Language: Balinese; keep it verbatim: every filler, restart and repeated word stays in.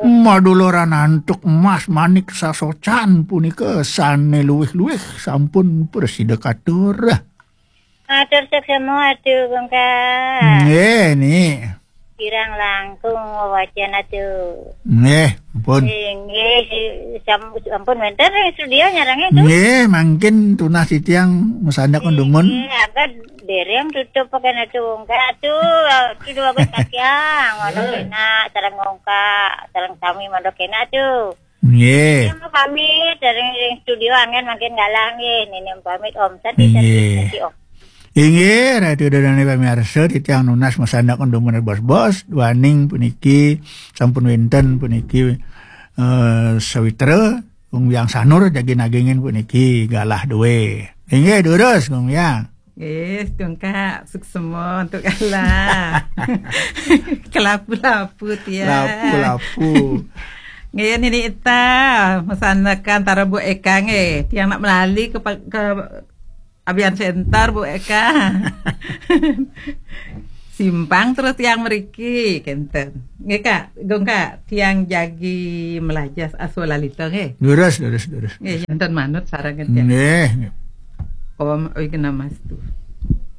Madularan antuk emas manik sasocan punika sane luwih-luwih sampun prasida katur. Matur suksma atu, Gungka. Nggih, Ni. Kirang langkung wacana atu. Nggih, ampun. Inggih, si-, sam-, sampun wenten ring studio nyarengin tu. Nggih, mangkin tunas titiang masandak dumun. Nggih, angkat dereng tutup pakai natu Gungka tu. Tu dua belas katiang, mana kena, sareng Gungka, sareng sami mana kena tu. Nggih. Nini pamit dari ring studio angin makin galang nggih. Nini pamit Om. Santi, santi, nggih, santi, Om. Inggih, Ratu Dadane pamirsa, titiang nunas masandak dumun bos-bos, duaning puniki sampun wenten puniki, eh, sawitra, Gung Biang Sanur jagi nagingin puniki galah due. Inggih, durus, Gung Biang. Nggih, Gungka, suksma antuk galah. Kelapu-lapu tiang. Lapu-lapu. Nggih, Nini Ita, masandekan tara Bu Eka nggih. Tiang nak melali ke pa-, ke Abian Center, Bu Eka. Simpang terus tiang mriki, kenten. Nggih, Kak, Gungka, tiang jagi melajas aswa lalita nggih. Durus, durus, durus. Nggih, enten manut sareng tiang. Nggih, nggih. Om Awighnamastu.